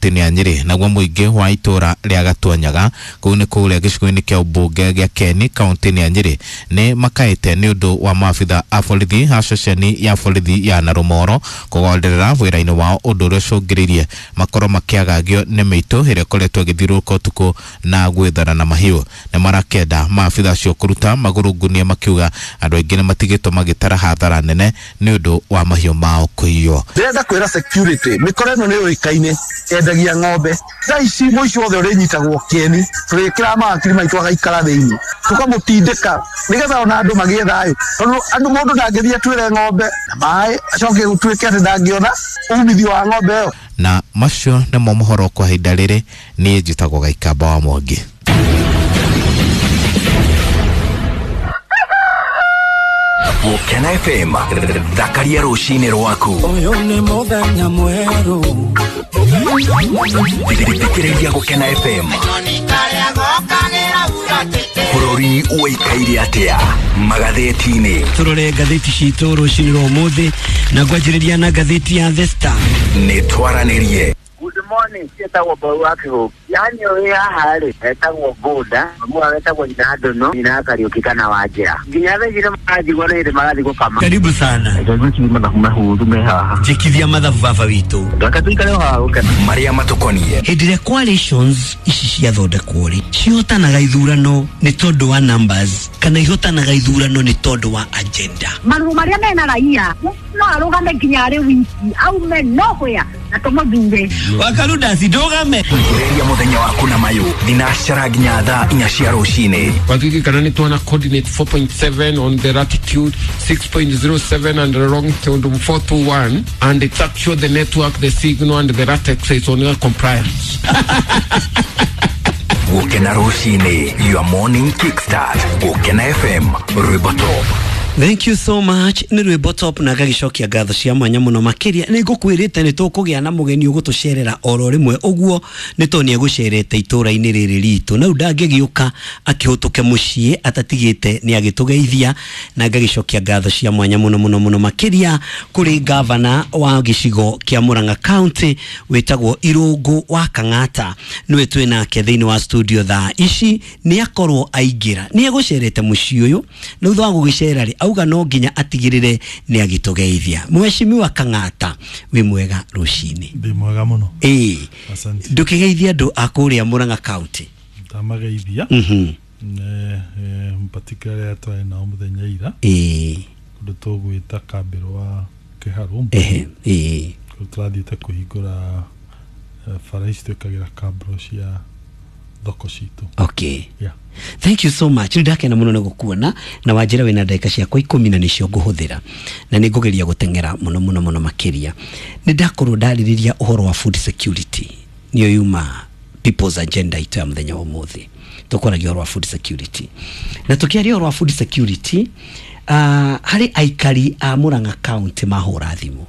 kaunti-inĩ ya Nyĩrĩ. Naguo mũingĩ wa itũra rĩa Gatuanyaga kũu nĩ kũrĩa gĩcigo-inĩ kĩa ũmbunge gĩa Keni kaunti-inĩ ya Nyĩrĩ nĩ makaĩte nĩ ũndũ wa maabitha a borithi a ceceni ya borithi ya Narumoro kũgonderera wĩra-inĩ wao, ũndũ ũrĩa ũcũngĩrĩirie makorwo makĩagagio nĩ mĩitũ ĩrĩa ĩkoretwo ĩgĩthiũrũrũka ũtukũ na gwĩthara na mahiũ. Nĩ marakenda maabitha acio kũruta magũrũ ngunia, makiuga andũ aingĩ nĩ matigĩtwo magĩtara hathara nene nĩ ũndũ wa mahiũ mao kũiywo. Ndĩrenda kwĩra security mĩkora ĩno nĩ yũĩkaine yendagia ng'ombe. Thaa ici mũici wothe ũrĩnyitagwo kĩeni tũrĩkĩraga mawakiri maitũ agaikara thĩinĩ, tũkamũtindĩka nĩgetha ona andũ magĩe thayũ, tondũ andũ mũndũ ndangĩthiĩ atuĩre ng'ombe na maĩ acoke gũtuĩke atĩ ndangĩona umithio wa ng'ombe ĩyo. Na macio nĩmo mohoro kwa ihinda rĩrĩ. Niĩ njĩtagwo Gaikamba wa Mwangi. Gũkena FM, thakaria rũcinĩ rwaku. Ũyũ nĩ mũthenya mwerũ. Thikĩrĩria Gũkena FM. Bũrũri ũikaire atĩa magathĩti-inĩ? Tũrore ngathĩti citũ rũcinĩ rwa ũmũthĩ na ngwanjĩrĩria na ngathĩti ya The Star. Nĩ twaranĩrie. Good morning, ciĩtagwo Mbau wa Kĩhũngĩ. Yani ũyũ haha rĩ, etagwo Bũnda, mamu etagwo nyina Ndũnũ, nyina Kariũki kana Wanjĩra. Nginya thaa ici nĩ maranjigua nĩ hĩndĩ marathiĩ gũkama. Karibu sana. Ngwĩciria mathabu mahũthũ me haha. Njĩkithia mathabu baba witũ. Reke tũikare o haha gũkena. Marĩa matũkoniĩ. Hĩndĩ ĩrĩa coalitions ici ciathondekwo rĩ, cihotanaga ithurano nĩ tondũ wa numbers kana ihotanaga ithurano nĩ tondũ wa agenda? Marũa marĩa mena raia no arũgame nginya arĩ wiki aume nowhere na tũmũthure. Wakarudasi ndũgame. Ambĩrĩria mũthenya waku na mayũ thinacara nginya thaa 4 cia rũcinĩ. Wathigi nĩ tuona coordinate 4.7 on the latitude, 6.07 and the longitude 421, and it's actually the network, the signal and the latex is on your compliance. Gũkena rũcinĩ, your morning kickstart. Gũkena FM, rwĩmbo top. Thank you so much. Nĩ rwĩmbo top na ngagicokia ngatho cia mwanya mũno makĩria. Nĩ ngũkwĩrĩte nĩ tũkũgĩa na mũgeni ũgũtũcerera oro rĩmwe ũguo, nĩ tondũ nĩ egũcerete itũra-inĩ rĩrĩ ritũ na rĩu ndangĩgĩũka akĩhũtũke mũciĩ atatigĩte nĩ agĩtũgeithia, na ngagicokia ngatho cia mwanya mũno mũno mũno makĩria kũrĩ gavana wa gĩcigo kĩa Murang'a County wĩtagwo Irũngũ wa Kang'ata, nĩwe twĩ nake thĩinĩ wa studio thaa ici. Nĩ akorwo aingĩra, nĩ egũcerete mũciĩ ũyũ na thutha wa gũgĩcera rĩ, auga no nginya atigĩrĩre nĩ agĩtũgeithia. Mheshimiwa Kang'ata, wĩ mwega rũcinĩ? Ndĩ mwega mũno. Ĩĩ. Asante. Ndũkĩgeithia andũ a kũrĩa Murang'a County. Ndamageithia. Particularly arĩa twarĩ nao mũthenya ira. Kũndũ tũgwĩta kambĩrũ wa Kĩharũ. Ehe, ĩĩ. Kũndũ tũrathiĩte kũhingũra bara ici twĩkagĩra kambro cia thoko citũ. Okay. Yeah. Thank you so much. Ndakena mũno nĩ gũkuona na wanjĩra wĩna ndagĩka ciakwa 10 na nĩcio ngũhũthĩra na nĩ ngũgeria gũteng'era mũno mũno mũno makĩria. Nĩ ndakorwo ndarĩrĩria ũhoro wa food security, nĩyo yuma people's agenda itũ ya mũthenya wa ũmũthĩ. Tũkwaragia ũhoro wa food security na tũkĩaria ũhoro wa food security, harĩ aikari a Murang'a County mahũra thimũ.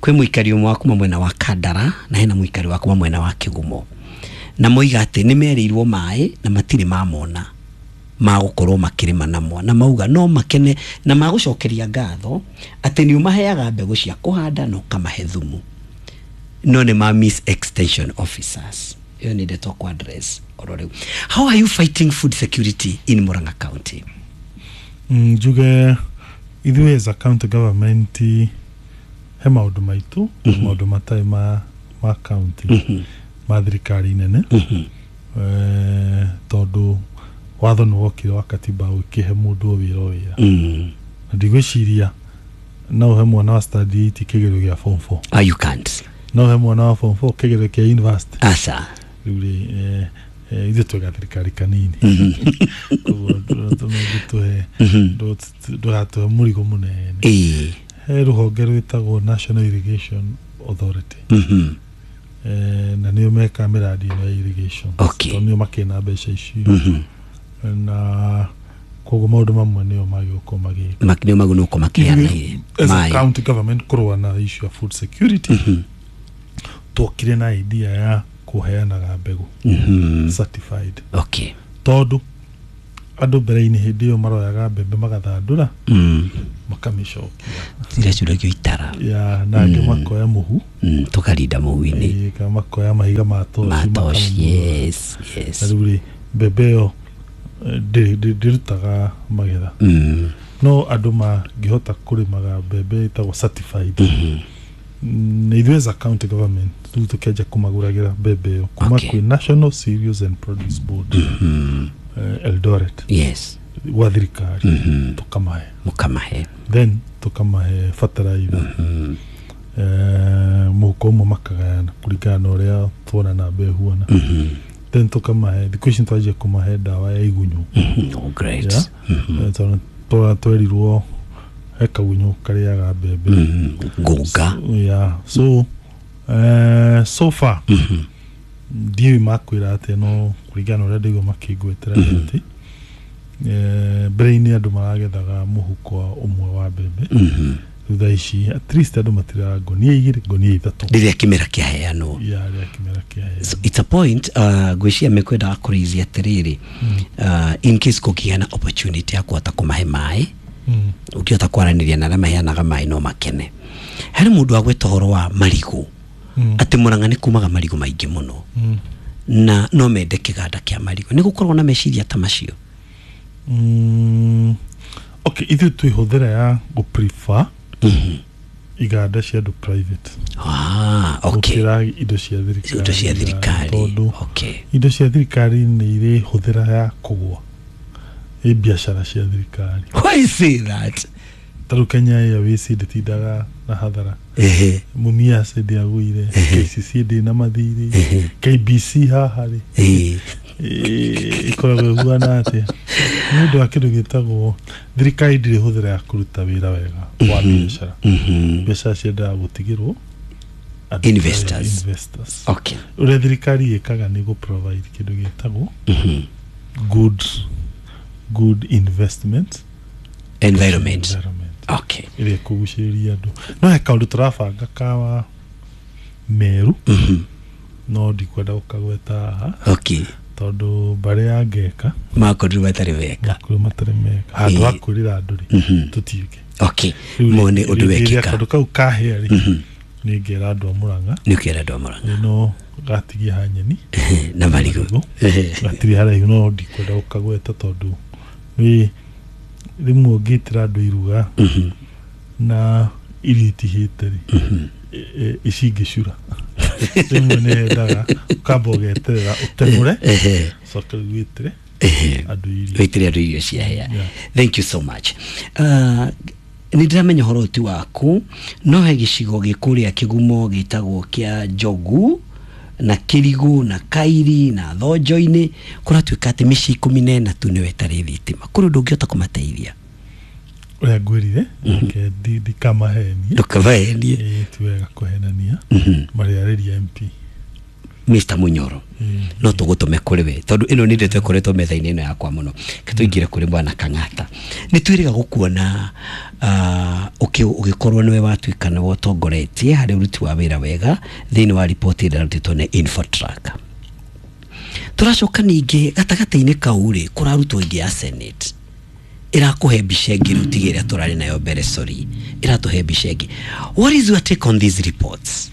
Kwĩ mũikari ũmwe wa kuma mwena wa Kandara na hena mũikari wa kuma mwena wa Kĩgumo, na moiga atĩ nĩ merĩirwo maĩ na matirĩ mamona magũkorwo makĩrĩma namo, na mauga no makene na magũcokeria ngatho atĩ nĩ ũmaheaga mbegũ cia kũhanda na ũkamahe thumu, no nĩ ma miss extension officers. Ĩyo nĩ ndeto kwa address oro rĩu. How are you fighting food security in Murang'a County? Njuge ithuĩ as a county government he maũndũ maitũ, maũndũ matarĩ ma county, ma thirikari nene. Tondũ watho nĩ wokire wa katiba ũkĩhe mũndũ o wĩra o wĩra. Na ndigwĩciria no ũhe mwana wa standard 8 kĩgerio gĩa form 4. Ah, you can't. No ũhe mwana wa form 4 kĩgerio kĩa university. Asa. Rĩu rĩ, ithuĩ twĩ gathirikari kanini, koguo ndũtũhe ndũgatũhe mũrigo mũnene. He rũhonge rwĩtagwo National Irrigation Authority. Na nĩo mekaga mĩradi ĩno ya irrigation. Okay. Tondũ nĩo makĩna mbeca icio. Na koguo maũndũ mamwe nĩo magĩũka magĩka. Nĩo magũnũko makĩheana As a maĩ. county government kũrũa na issue ya food security, twokire na idea ya kũheanaga mbegũ certified. Okay. Tondũ Andũ mbere-inĩ hĩndĩ ĩyo maroyaga mbembe magathandũra makamĩcokia iracuragio itara ya na angĩ makoya mũhu tũkarinda mũhu-inĩ kana makoya mahiga ma toci. Yes, yes. Na rĩu rĩ mbembe ĩyo ndĩrutaga magetha no andũ mangĩhota kũrĩmaga mbembe ĩtagwo certified na ithuĩ as a county government rĩu tũkĩanjia kũmagũragĩra mbembe ĩyo kuma kwĩ National Cereals and Produce Board Eldoret. Yes. Gwa thirikari tukamahe mukamahe then tukamahe fertilizer mũhuko ũmwe makagayana kũringana na ũrĩa tuona namba ĩhuana then tukamahe thikũ ici twanjia kũmahe ndawa ya igunyũ. Oh, great. Yeah. Twerirwo he kagunyũ karĩaga mbembe ngũnga. Yeah. So so far ndiũĩ makwĩra atĩa no kũringana na ũrĩa ndaigua makĩngwetera atĩ mbere-inĩ andũ maragethaga mũhuko ũmwe wa mbembe thutha ici at least andũ matiraga ngonia igĩrĩ ngonia ithatũ rĩrĩa kĩmera kĩaheanwo. Yeah, rĩrĩa kĩmera kĩaheanwo. So it's a point ngwĩciria mekwendaga kũrĩithia atĩrĩrĩ in case kũngĩgĩa na opportunity ya kũhota kũmahe maĩ ũngĩhota kwaranĩria na arĩa maheanaga maĩ no makene. Harĩ mũndũ agweta ũhoro wa marigũ atĩ Murang'a nĩ kumaga marigũ maingĩ mũno na no mende kĩganda kĩa marigũ. Nĩ gũkoragwo na meciria ta macio? Okay, ithuĩ twĩ hũthĩra ya gũ prefer iganda cia andũ private. Okay. Gũkĩra indo cia thirikari. Indo cia thirikari. Tondũ okay. indo cia thirikari nĩ irĩ hũthĩra ya kũgũa ĩ biacara cia thirikari. Why say that? Tarĩu Kenya Airways ndĩtindaga na hathara. Mumias ndĩagũire, KCC ndĩ na mathirĩ, KBC haha rĩ ĩkoragwo ĩhuana atĩa? Nĩ ũndũ wa kĩndũ gĩtagwo thirikari ndĩrĩ hũthĩra ya kũruta wĩra wega wa biacara. Biacara ciendaga gũtigĩrwo investors. Okay. Ũrĩa thirikari ĩkaga nĩ gũ provide kĩndũ gĩtagwo good investment environment. Okay. Ĩrĩa ĩkũgucĩrĩria andũ. No he kaũndũ tũrabanga kawa Meru no ndikwenda gũkagweta haha. Okay. Tondũ mbarĩ ya ngeka makorirwo matarĩ meka. Makorirwo matarĩ meka handũ ha kwĩrĩra andũ rĩ tũtiũke. Okay. Mone ũndũ wekĩka kaũndũ kau kahĩa rĩ nĩ ngera andũ a Murang'a. Nĩ ũkera andũ a Murang'a no gatigie ha nyeni na marigũ gatirĩ haraihu no ndikwenda gũkagweta tondũ nĩ rĩmwe ũngĩtĩra andũ iruga na irio itihĩte rĩ ici ingĩcura rĩmwe nĩ yendaga ũkamba ũgeterera ũteng'ũre coke rĩu wĩtĩre andũ irio wĩtĩre andũ irio ciahĩa. Thank you so much. Nĩ ndĩramenya ũhoro ũti waku no he gĩcigo gĩkũrĩa kĩgumo gĩtagwo kĩa Njogu na Kĩrigũ na Kairi na Thonjo-inĩ kũratuĩka atĩ mĩciĩ 14 tu nĩyo ĩtarĩ thitima. Kũrĩ ũndũ ũngĩhota kũmateithia? Ũrĩa ngwĩrire reke ndikamahenie. Ndũkamahenie. Ti wega kũhenania marĩarĩria MP Mr. Munyoro no tũgũtũme kũrĩ we tondũ ĩno nĩ ndeto ĩkoretwo metha-inĩ ĩno yakwa mũno. Ke tũingĩre kũrĩ bwana Kang'ata. Nĩ twĩrĩga gũkuona ũgĩkorwo nĩwe watuĩka nĩwe ũtongoretie harĩ ũruti wa wĩra wega thĩinĩ wa riboti ĩrĩa ĩrarutĩtwo nĩ Infotrack. Tũracoka ningĩ gatagatĩ-inĩ kau rĩ kũrarutwo ĩngĩ ya Senate ĩrakũhe mbica ĩngĩ rĩu tiga ĩrĩa tũrarĩ nayo mbere, sorry, ĩratũhe mbica ĩngĩ. What is your take on these reports?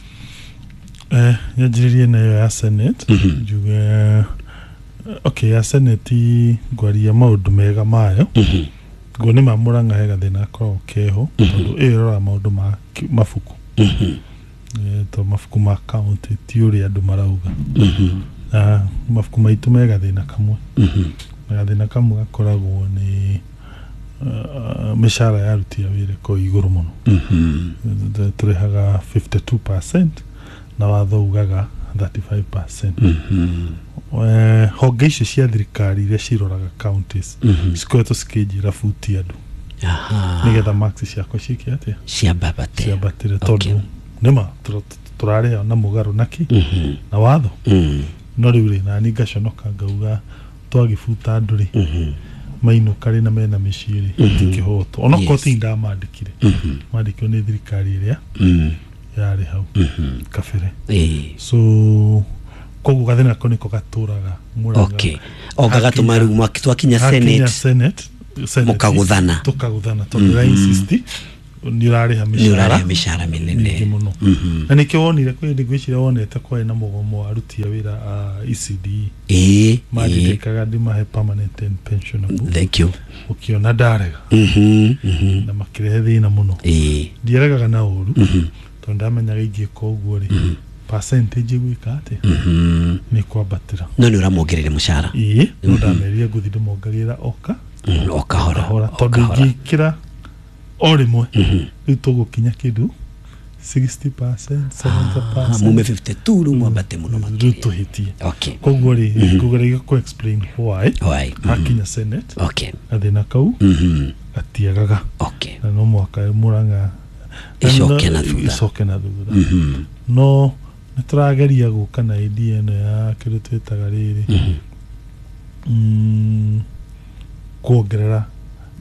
Nyanjĩrĩrie nayo ya Senate njuge okay ya Senate ngwaria maũndũ mega mayo nguo nĩ ma Murang'a he gathĩna gakoragwo keho tondũ ĩyo ĩroraga maũndũ ma mabuku to mabuku ma county ti ũrĩa andũ marauga na mabuku maitũ me gathĩna kamwe na gathĩna kamwe gakoragwo nĩ mĩcara ya aruti a wĩra ĩkoragwo igũrũ mũno. Tũrĩhaga 52% na watho ugaga 35%. Honge icio cia thirikari iria ciroraga counties cikoretwo cikĩnjĩra buti andũ nĩgetha marks ciakwa ciĩke atĩa ciambatĩre tondũ nĩma tũrarĩha na mũgarũ naki na watho no rĩu rĩ nani ngaconoka ngauga twagĩbuta andũ rĩ mainũka rĩ na mena mĩciĩ rĩ ti kĩhoto onokorwo ti ndamandĩkire mandĩkirwo nĩ thirikari ĩrĩa yarĩ hau kabere. So Koguo gathĩna kau nĩko gatũraga Murang'a. Okay, o gagatũma rĩu twakinya Hakinya Senate Senate, mũkagũthana. Tũkagũthana tondũ mm insist nĩ ũrarĩha nĩ mĩcara ũrarĩha mĩcara mĩingĩ mĩnene mũno. Na nĩkĩo wonire kwĩ hĩndĩ ngwĩciria wonete kwarĩ na mũgomo wa aruti a wĩra a ECDE. Ĩĩ. Mandindĩkaga ndĩmahe permanent and pensionable. Thank you. Ũkĩona ndarega na makĩrehe thĩna mũno. Ndiaregaga na ũru tondũ ndamenyaga ingĩka ũguo rĩ, percentage ĩgwĩka atĩ nĩ kwambatĩra. No nĩ ũramongerere mũcara. Ĩĩ, no ndamerire ngũthiĩ ndĩmongagĩrĩra oka O kahora. Kahora, O tondũ kahora. ingĩkĩra o rĩmwe rĩu tũgũkinya kĩndũ 60%, 70%. Mume 52 rĩu mwambate mũno rĩu makĩria. Tũhĩtie. Okay. Koguo rĩ, ngũgeragia kũ explain why Why? hakinya Senate gathĩna kau gatiagaga na no mũhaka Murang'a Ĩcoke na thutha. Ĩcoke na thutha. No nĩ tũrageria gũka na idea ĩno ya kĩndũ twĩtaga rĩrĩ, kuongerera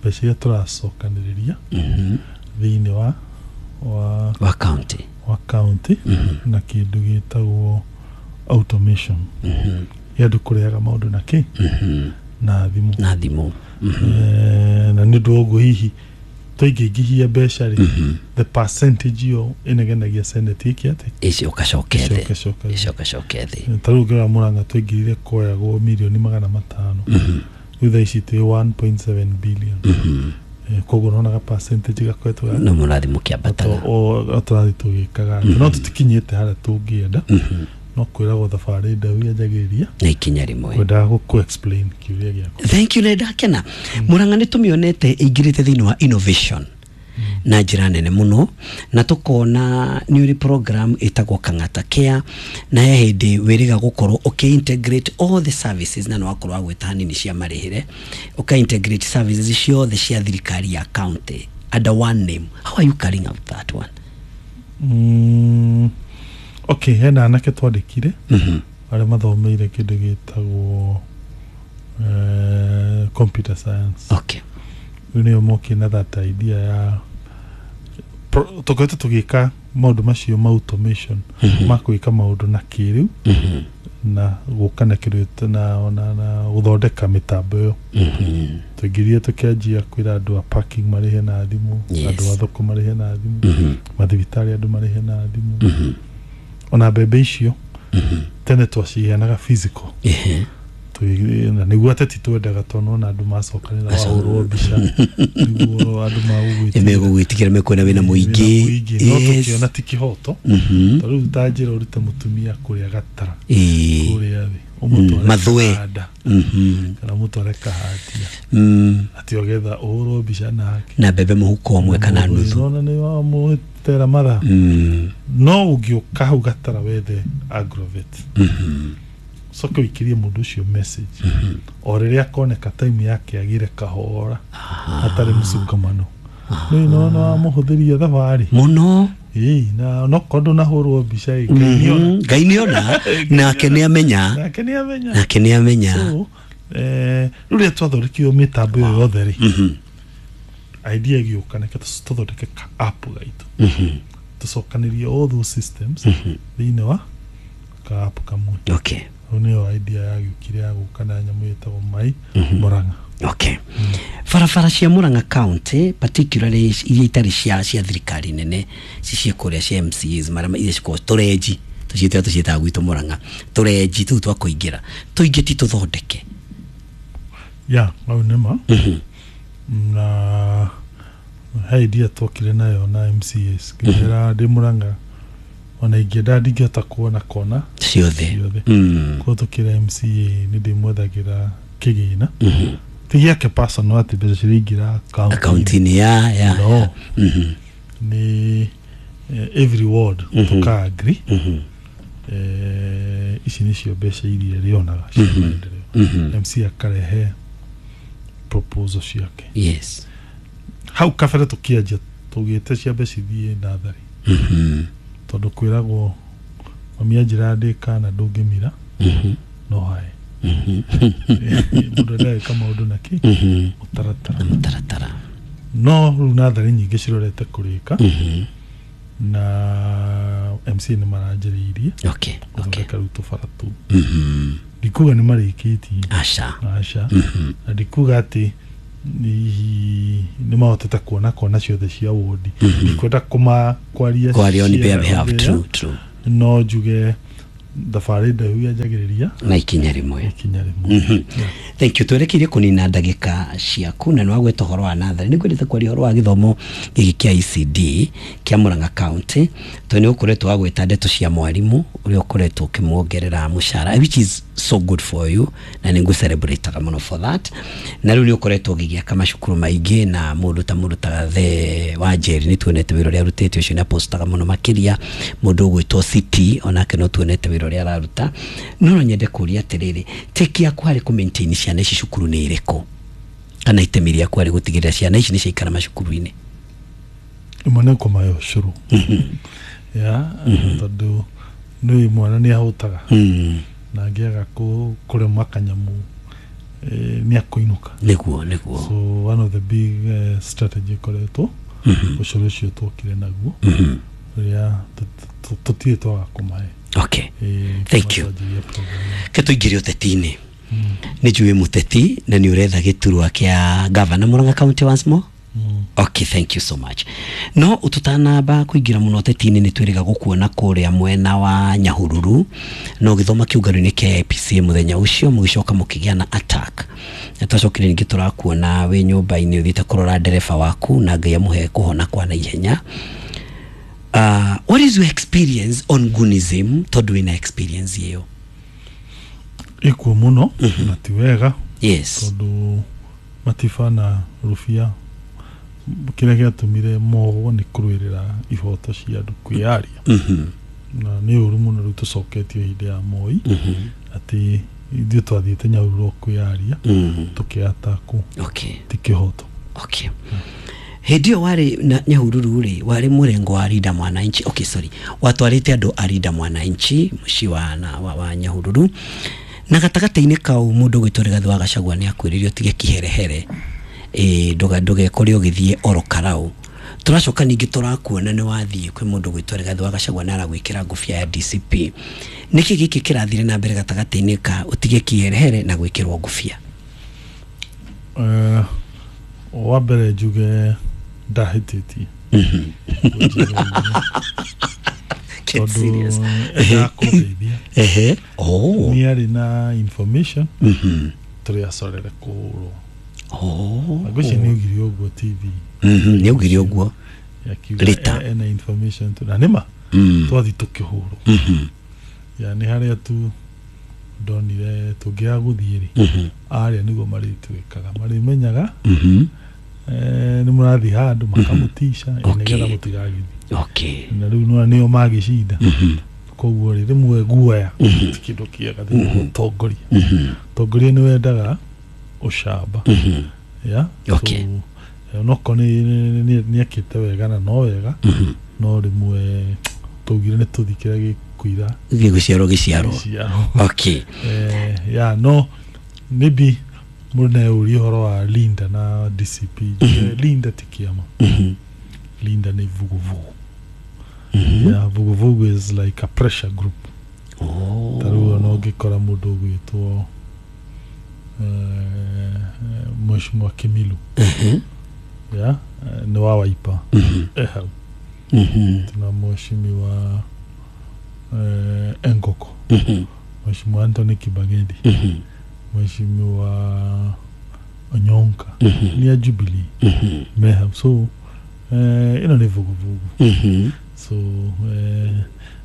mbeca iria tũracokanĩrĩria thĩinĩ wa wa county. Wa county na kĩndũ gĩtagwo automation ya andũ kũrehaga maũndũ na kĩ na thimũ. Na thimũ. Na nĩ ũndũ wa ũguo hihi twaingĩingĩhia mbeca rĩ, the percentage ĩyo ĩnegenagia Senate ĩke atĩ ĩcokacoke thĩ. Ĩcoke-coke thĩ. Ĩcokacoke thĩ. Ta rĩu ũngĩrora Murang'a twaingĩrire koyagwo mirioni 500, rĩu thaa ici twĩ 1.7 billion. Koguo nonaga percentage gakoretwo no mũrathiĩ mũkĩambataga. O tũrathiĩ tũgĩkaga atĩ no tũtikinyĩte harĩa tũngĩenda, no kwĩragwo thabarĩ ndaihu yanjagĩrĩria na ikinya rĩmwe. Kwendaga gũkũ explain kĩũria gĩaku. Thank you, nĩ ndakena. Murang'a nĩ tũmĩonete ĩingĩrĩte thĩinĩ wa innovation na njĩra nene mũno, na tũkona nĩ ũrĩ program ĩtagwo Kang'ata Care, na he hĩndĩ wĩrĩga gũkorwo ũkĩ-integrate all the services, na nĩ wakorwo wagwĩta hanini cia marĩhĩre, ũka-integrate services ciothe cia thirikari ya county under one name. How are you carrying out that one? Okay, hena anake twandĩkire arĩa mathomeire kĩndũ gĩtagwo computer science. Rĩu nĩo mokire na that idea ya tũkoretwo tũgĩka maũndũ macio ma automation, ma gwĩka maũndũ na kĩrĩu na gũka na kĩndũ na gũthondeka mĩtambo ĩyo. Tũingĩrire tũkĩanjia kwĩra andũ a parking marĩhe na thimũ, andũ a thoko marĩhe na thimũ, mathibitarĩ andũ marĩhe na thimũ, ona mbembe icio tene twaciheanaga physical. Na nĩguo ateti twendaga tondũ nona andũ macokanĩra wahũrwo mbica nĩguo andũ magũgwĩtĩkĩra. Megũgwĩtĩkĩra, mekuona wĩna mũingĩ. No tũkĩona ti kĩhoto, ta rĩu ta njĩra ũrute mũtumia kũrĩa gatara kũrĩa thĩ ũmũtware Mathwe. Kahanda kana ũmũtware kahatia atĩ ogetha ũhũrwo mbica nake na mbembe mũhuko ũmwe kana nuthu. Nona nĩ wamũtera mathaa. No ũngĩũka hau gatara wethe agrovet, coke ũikĩrie mũndũ ũcio message o rĩrĩa akoneka time yake agĩre kahora hatarĩ mũcungamano, nĩ nona wamũhũthĩria thabarĩ mũno. Ĩĩ, na onokorwo ndũnahũrwo mbica ĩ, Ngai nĩona. Ngai nĩona, nake nĩamenya. Nake nĩamenya. Nake nĩamenya. So, rĩu rĩrĩa twathondekire mĩtambo ĩyo yothe rĩ, idea ĩgĩũka nĩke tũthondeke ka app gaitũ, tũcokanĩrie all those systems thĩinĩ wa ka app kamwe. Rĩu nĩyo idea yagĩũkire ya gũka na nyamũ ĩtagwo Mai Murang'a. Okay, barabara cia Murang'a County, particularly iria itarĩ cia thirikari nene, ci cia kũrĩa cia MCAs marĩa iria cikoragwo tũrenji, tũciĩtaga tũciĩtaga gwitũ Murang'a tũrenji tũu twa kũingĩra, tũingĩ ti tũthondeke. Ya hau nĩma na he idea twokire nayo na MCAs ngĩmera ndĩ Murang'a ona ingĩenda ndingĩhota kuona kona ciothe. Ciothe. Koguo tũkĩra MCA nĩ ndĩmwethagĩra kĩgĩna ti gĩake personal atĩ mbeca ciraingĩra account-inĩ. Akaunti-inĩ ya No. Nĩ every ward tũka agree, ici nĩcio mbeca iria rĩonaga cia maendeleo. MC akarehe proposal ciake. Hau kabere tũkĩanjia tũgĩte ciambe cithiĩ natharĩ tondũ kwĩragwo mami anjĩra ndĩ kana ndũngĩmira no hae mũndũ ndagĩka maũndũ na kĩ mũtaratara. Na mũtaratara. No rĩu natharĩ nyingĩ cirorete kũrĩka na MCA nĩ maranjĩrĩirie gũthondeka rĩu tũbara tũu. Ndikuga nĩ marĩkĩtie, aca, aca, na ndikuga atĩ hihi nĩ mahotete kuona kona ciothe cia wodi. Ndikwenda kũma kwaria kwaria on their behalf. cia- True, true. No njuge thabarĩ ndaihu yanjagĩrĩria na ikinya rĩmwe. Ikinya rĩmwe. Thank you. Twerekeire kũnina ndagĩka ciaku na nĩwagweta ũhoro wa natharĩ. Nĩ ngwendete kwaria ũhoro wa gĩthomo gĩkĩ kĩa ECD kĩa Murang'a County, tondũ nĩ ũkoretwo wagweta ndeto cia mwarimũ ũrĩa ũkoretwo ũkĩmuongerera mũcara, which is so good for you, na nĩ ngũ-celebrate-aga mũno for that. Na rĩu nĩ ũkoretwo ũgĩgĩaka macukuru maingĩ na mũndũ ta Gathe wa Njeri nĩ tuonete wĩra ũrĩa arutĩte, ũcio nĩ apostaga mũno makĩria. Mũndũ ũgwĩtwo City onake no tuonete wĩra ũrĩa araruta. No nyende kũria atĩrĩrĩ, take yaku harĩ kũ maintain ciana ici cukuru nĩ ĩrĩkũ, kana itemi rĩaku harĩ gũtigĩrĩra ciana ici nĩ ciaikara macukuru-inĩ? Ĩmwe nĩ kũmahe ũcũrũ ya tondũ nĩ mwana nĩ ahũtaga na angĩaga kũrĩma kanyamũ nĩ akũinũka. Nĩguo. So one of the big strategy ĩkoretwo ũcũrũ ũcio twokire naguo ũrĩa tũtirĩ twaga kũmahe. Okay. Thank you. Kuma twanjĩrĩria program. Ke tũingĩre ũteti-inĩ. Nĩ njũĩ mũteti na nĩ ũretha gĩturwa kĩa gavana Murang'a County once more. Okay, thank you so much. No tũtanamba kũingĩra mũno ũteti-inĩ, nĩ twĩrĩga gũkuona kũrĩa mwena wa Nyahururu no gĩthoma kĩũngano-inĩ kĩa APC mũthenya ũcio, mũgĩcoka mũkĩgĩa na attack, na twacokire ningĩ tũrakuona wĩ nyũmba-inĩ ũthiĩte kũrora ndereba waku, na Ngai amũhe kũhona kwa naihenya. What is your experience on Gunism, tondũ wĩna experience ĩyo? Ĩkuo mũno na ti wega tondũ Matiba na Rubia kĩrĩa gĩatũmire mohwo nĩ kũrũĩrĩra ihoto cia andũ kwĩyaria, na nĩ ũru mũno rĩu tũcoketio hĩndĩ ya Moi atĩ ithuĩ twathiĩte Nyahururu kwĩyaria tũkĩatakwo. Ti kĩhoto. Okay, hĩndĩ ĩyo warĩ na Nyahururu rĩ, warĩ mũrengo wa Linda Mwananchi. Okay, sorry, watwarĩte andũ a Linda Mwananchi mũciĩ wa Nyahururu, na gatagatĩ-inĩ kau mũndũ ũgwĩtwo Rigathĩ wa Gachagua nĩ akwĩrire ũtige kiherehere, ĩ ndũgekore ũgĩthiĩ oro karau. Tũracoka ningĩ tũrakuona nĩ wathiĩ kwĩ mũndũ ũgwĩtwo Rigathĩ wa Gachagua na aragwĩkĩra ngũbia ya DCP. Nĩkĩ gĩkĩ kĩrathire na mbere gatagatĩ-inĩ ka ũtige kiherehere na gwĩkĩrwo ngũbia? Wa mbere njuge ndahĩtĩtie. Get Tondũ serious. endaga kũndeithia. Ehe, oh. Nĩ arĩ na information tũrĩ acorere kũhũrwo. Oh. Ngwĩciria nĩ augire ũguo TV. Nĩ augire ũguo. Akiuga Later. ena information tu na nĩma twathi tũkĩhũrwo. Ya nĩ harĩa tu ndonire tũngĩaga gũthiĩ rĩ, arĩa nĩguo marĩtuĩkaga marĩmenyaga nĩ mũrathiĩ handũ makamũtica nĩgetha mũtigagĩthiĩ. Na rĩu nĩwona nĩo magĩcinda. Koguo rĩ, rĩmwe guoya ti kĩndũ kĩega thĩinĩ wa ũtongoria. Ũtongoria nĩ wendaga ũcamba ya. So onokorwo nĩ ekĩte wega na no wega, no rĩmwe twaugire nĩ tũthiĩ kĩrĩa gĩkũira gĩgũciarwo gĩciarwo. Gĩciarwo. Ya no maybe mũndũ no eurie ũhoro wa Linda na DCP. Njuge Linda ti kĩama. Linda nĩ vuguvugu. Yeah, vuguvugu is like a pressure group. Oh. Ta rĩu ona ũngĩkora mũndũ ũgwĩtwo Mheshimiwa Kimilu, yeah, nĩ wa Wiper, hau tuna Mheshimiwa Engoko, Mheshimiwa Anthony Kibagedi, Mheshimiwa Onyonka nĩ a Jubilee me hau. So ĩno nĩ vuguvugu. So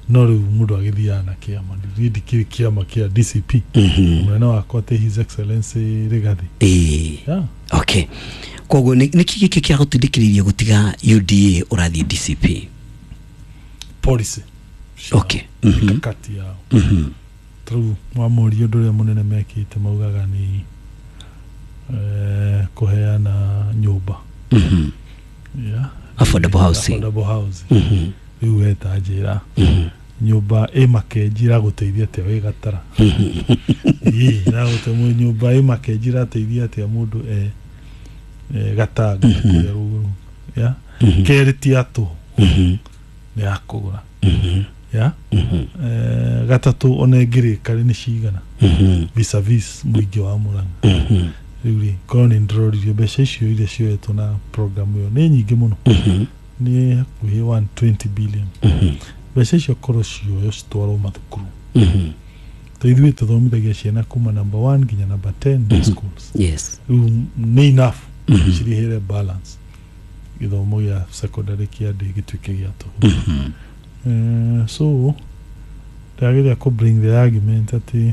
no rĩu mũndũ agĩthiaga na kĩama. Niĩ ndikĩrĩ kĩama kĩa DCP. Mũnene wakwa atĩ His Excellency Rigathi. Yeah. Okay, koguo nĩkĩ gĩkĩ kĩragũtindĩkĩrĩirie gũtiga UDA ũrathiĩ DCP? Policy ciao, mikakati yao. Tarĩu wamũria ũndũ ũrĩa mũnene mekĩte, maugaga nĩ kũheana nyũmba. Yeah. Affordable housing. Affordable housing. Rĩu we ta njĩra, nyũmba ĩ Makenji ĩragũteithia atĩa wĩ Gatara? Ĩ ĩragũte nyũmba ĩ Makenji ĩrateithia atĩa mũndũ e Gatanga kũrĩa rũgũrũ? Yeah. Kerĩ ti ya tũhũ, nĩ ya kũgũra. Ya gatatũ, ona ĩngĩrĩka rĩ, nĩ cigana vis-a-vis mũingĩ wa Murang'a? Rĩu rĩ, korwo nĩ ndĩroririo mbeca icio iria cioetwo na program ĩyo nĩ nyingĩ mũno, nĩ hakuhĩ 120 billion. Mbeca icio korwo cioyo citwarwo mathukuru, to ithuĩ tũthomithagia ciana kuma number 1 nginya number 10 schools. Rĩu nĩ enough cirĩhĩre balance gĩthomo gĩa secondary kĩa ndĩ gĩtuĩke gĩa tũhũ. So ndĩrageria kũ bring the argument atĩ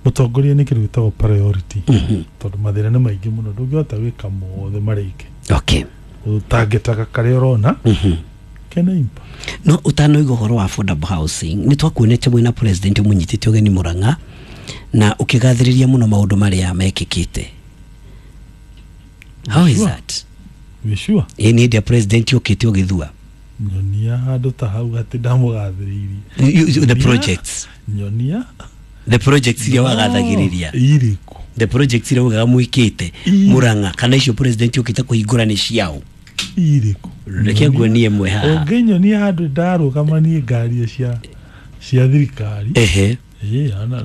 mũtongoria nĩ kĩndũ gĩtagwo priority, tondũ mathĩna nĩ maingĩ mũno, ndũngĩhota gwĩka mothe marĩke. Ũtangĩtaga karĩa ũrona kena impact. No ũtanoiga ũhoro wa affordable housing, nĩ twakuonete mwĩna president mũnyitĩte ũgeni Murang'a na ũkĩgathĩrĩria mũno maũndũ marĩa mekĩkĩte. How is Sure. that? Wĩ sure? Ĩ, nĩ hĩndĩ ya president ũkĩte ũgĩthua. Nyonia handũ ta hau atĩ ndamũgathĩrĩirie. The projects. Nyonia. The projects iria wagathagĩrĩria. Irĩkũ? The projects iria ugaga mwĩkĩte Murang'a, kana icio president ũkĩte kũhingũra nĩ ciao? Irĩkũ? Reke nguonie ĩmwe haha. Ũngĩnyonia handũ ndarũgamanie ngari cia thirikari. Ĩĩ, ona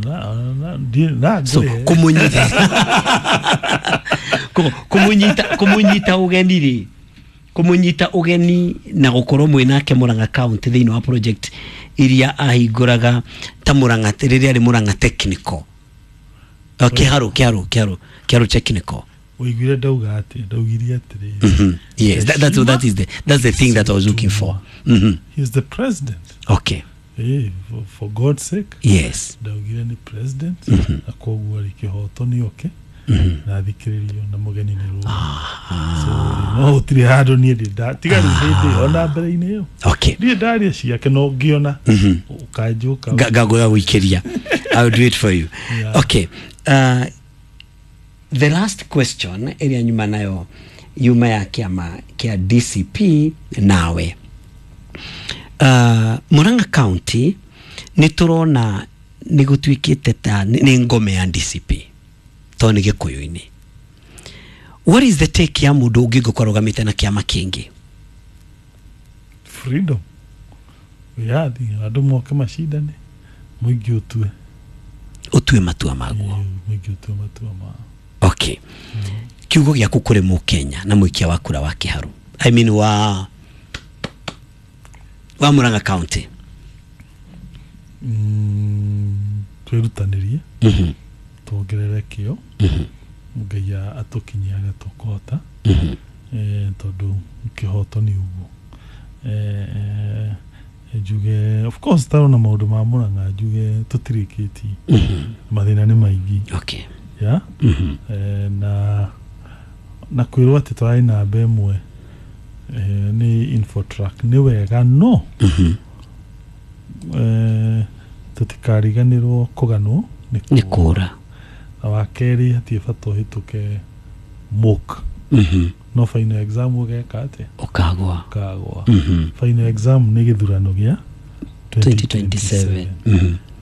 na So ngũrĩhe. Kũmũnyita ũgeni rĩ, kũmũnyita ũgeni na gũkorwo mwĩ nake Murang'a County thĩinĩ wa project iria ahingũraga ta Murang'a rĩrĩa arĩ Murang'a Technical. Kĩharũ Technical. Ũiguire ndauga atĩ ndaugire atĩrĩrĩ? Yes, that's the thing that I was looking for. He is the president. Ĩĩ, for God's sake. Ndaugire nĩ president, na koguo rĩ, kĩhoto nĩ oke na thikĩrĩrio na mũgeni nĩ rũĩ. So no gũtirĩ handũ niĩ ndĩ tiga rĩu hĩndĩ ona mbere-inĩ ĩyo ndirĩ ndaria ciake, no ngĩona ũkanjũka. Ngagũya gũikĩria. I will do it for you. Yeah. Okay. The last question ĩrĩa nyuma nayo yuma ya kĩama kĩa DCP nawe. Murang'a County nĩ tũrona nĩ gũtuĩkĩte ta nĩ ngome ya DCP tondũ nĩ Gĩkũyũ-inĩ. What is the take ya mũndũ ũngĩ ngũkorwo arũgamĩte na kĩama kĩngĩ? Freedom, wĩyathi, andũ moke macindane, mũingĩ ũtue. Ũtue matua maguo. Ĩĩ, mũingĩ ũtue matua mao. Okay. Kiugo gĩaku kũrĩ mũkenya na mũikia wa kura wa Kĩharu, I mean wa Murang'a County. Twĩrutanĩrie, tuongerere kĩo, Ngai atũkinyie harĩa tũkũhota. Tondũ kĩhoto nĩ ũguo. Njuge of course tarona maũndũ ma Murang'a, njuge tũtirĩkĩtie, mathĩna nĩ maingĩ. Ya. Na kwĩrwo atĩ tũrarĩ namba ĩmwe nĩ Infotrack nĩ wega, no tũtikariganĩrwo kũganwo nĩ kũra. Na wa kerĩ, hatirĩ bata ũhĩtũke mock no final exam ũgeka atĩa? Ũkagwa. Ũkagwa. Final exam nĩ gĩthurano gĩa 2027.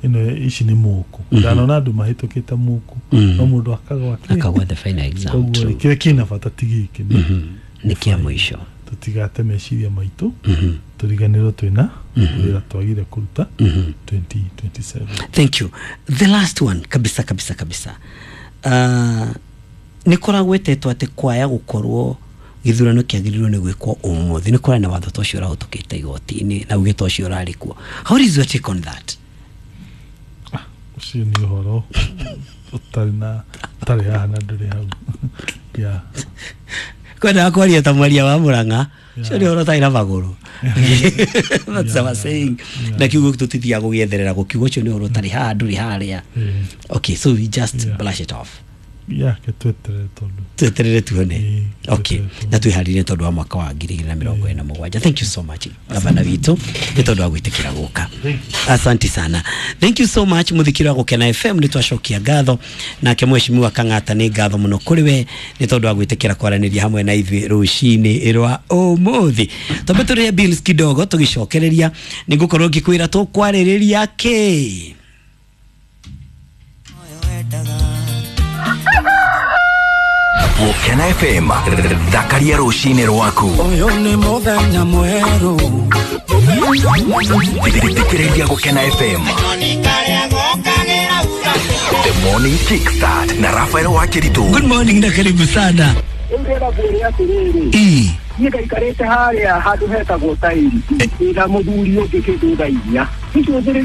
Ĩno ici nĩ mock. Ndanona andũ mahĩtũkĩte mock, no mũndũ akagwa kĩ? Akagwa the final exam. Koguo rĩ, True. kĩrĩa kĩna bata ti gĩkĩ, nĩ Nĩ kĩa mũico. Tũtigate meciria maitũ, tũriganĩrwo twĩna wĩra twagire kũruta 2027. Thank you. The last one kabisa kabisa kabisa, nĩ kũragwetetwo atĩ kwaya gũkorwo gĩthurano kĩagĩrĩirwo nĩ gwĩkwo ũmũthĩ, nĩ kũrarĩ na watho ta ũcio ũrahĩtũkĩte igoti-inĩ na uge ta ũcio ũrarĩ kuo. How is your take on that? Ũcio nĩ ũhoro ũtarĩ na ũtarĩ haha na ndũrĩ hau, yeah. Kwendaga kwaria ta mwaria wa Murang'a, ũcio nĩ ũhoro ũtarĩ na magũrũ. That's our saying. Na kiugo tũtithiaga gũgĩetherera gũkiuga ũcio nĩ ũhoro ũtarĩ haha ndũrĩ harĩa. Okay, so we just brush it off. Yeah, ke tweterere tondũ Tweterere tuone. Ĩĩ, okay tweterere tuone. Na twĩharĩrie tondũ wa mwaka wa 2027. Thank you so much, gavana witũ, nĩ tondũ wa gwĩtĩkĩra gũka. Asante sana, thank you so much. Mũthikĩri wa Gũkena FM, nĩ twacokia ngatho nake mheshimiwa Kang'ata. Nĩ ngatho mũno kũrĩ we nĩ tondũ wa gwĩtĩkĩra kwaranĩria hamwe na ithuĩ rũcinĩ rwa ũmũthĩ. Twambe tũrĩhe bills kidogo, tũgĩcokereria nĩ ngũkorwo ngĩkwĩra tũkwarĩrĩria kĩ. Gũkena FM, thakaria rũcinĩ rwaku. Ũyũ nĩ mũthenya mwerũ. Thikĩrĩria Gũkena FM. The Morning Kickstart na Rafael Wakiritu. Good morning na karibu sana. Rĩu ndĩrenda ngwĩre atĩrĩrĩ, Ii. niĩ ngaikarĩte harĩa handũ hetagwo tairi, ndĩna mũthuri ũngĩ kĩndũ thaa inya. Icũthĩrĩria.